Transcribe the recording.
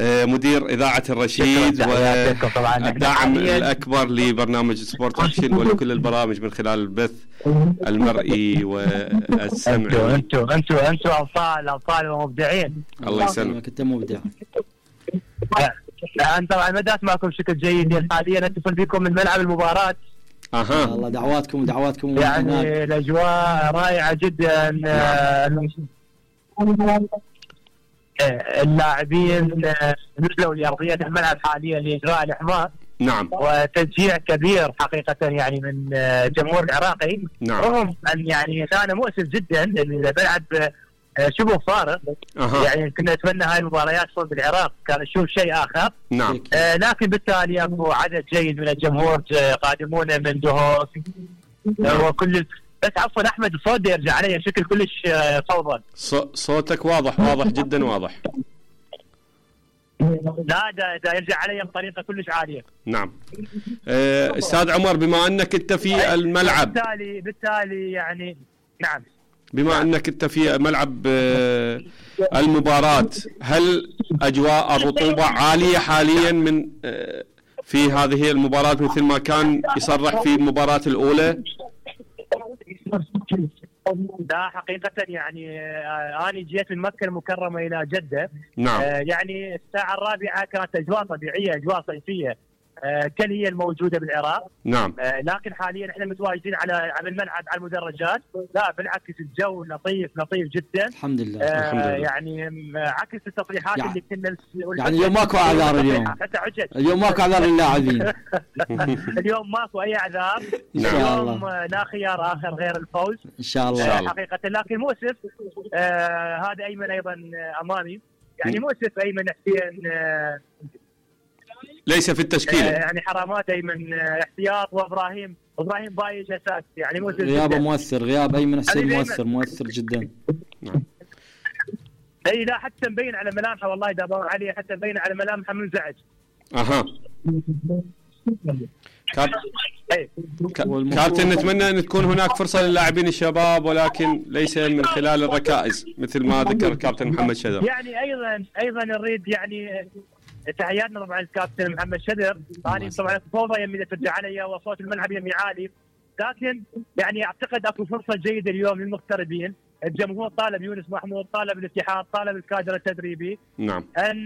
مدير إذاعة الرشيد والداعم الأكبر لبرنامج سبورت أكشن ولكل البرامج من خلال البث المرئي والسمعي. أنتوا أبطال ومبدعين. الله يسلمك. أنت مبدع. أنت طبعا مدات معكم بشكل جيد حاليا، نتصل بكم من ملعب المباراة. والله دعواتكم يعني الأجواء رائعة جدا. اللاعبين نزلوا لأرضية الملعب حاليا لإجراء الإحماء. نعم. وتشجيع كبير حقيقة يعني من جمهور العراقي. نعم. رغم أن يعني كان مؤسف جدا الملعب شبه فارغ. يعني كنا نتمنى هاي المباريات تكون بالعراق، كان نشوف شيء آخر. نعم. لكن بالتالي أكو عدد جيد من الجمهور قادمون من دهوك وكل. بس عفوا أحمد، الصوت يرجع علي بشكل كلش فوضى. صوتك واضح جدا واضح. لا ده يرجع علي بطريقة كلش عالية. نعم. أستاذ عمر، بما أنك أنت في الملعب بالتالي يعني نعم، بما أنك أنت في ملعب المباراة، هل أجواء الرطوبة عالية حاليا من في هذه المباراة مثل ما كان يصرح في المباراة الأولى؟ لا حقيقة يعني أنا جيت من مكة المكرمة إلى جدة. نعم. يعني الساعة 4 كانت أجواء طبيعية، أجواء صيفية كالهي الموجودة بالعراق. نعم. لكن حاليا احنا متواجدين على الملعب على المدرجات. لا بالعكس الجو لطيف جدا. الحمد لله. يعني عكس التصريحات اللي كنا يعني اليوم ماكو اعذار. اليوم ماكو اعذار للاعبين. اليوم ماكو اي اعذار. اليوم لا خيار اخر غير الفوز ان شاء الله. حقيقة لكن مؤسف هذا ايمن ايضا امامي، يعني مؤسف ايمن حسين ليس في التشكيلة. يعني حرامات ايمن احتياط، وابراهيم بايج اساس، يعني غيابه مؤثر. غياب ايمن حسين مؤثر جدا. اي لا حتى مبين على ملامحه، والله دابا علي حتى مبين على ملامحه منزعج. كابتن، نتمنى ان تكون هناك فرصة للاعبين الشباب، ولكن ليس من خلال الركائز مثل ما ذكر الكابتن محمد شدر. يعني ايضا نريد يعني تحياتنا طبعا الكابتن محمد شدر. انا طبعا فوضى يمي ترجع علي وصوت الملعب يمي عالي، لكن يعني اعتقد اكو فرصه جيده اليوم للمغتربين. الجمهور طالب يونس محمود، طالب الاتحاد، طالب الكادر التدريبي. نعم. ان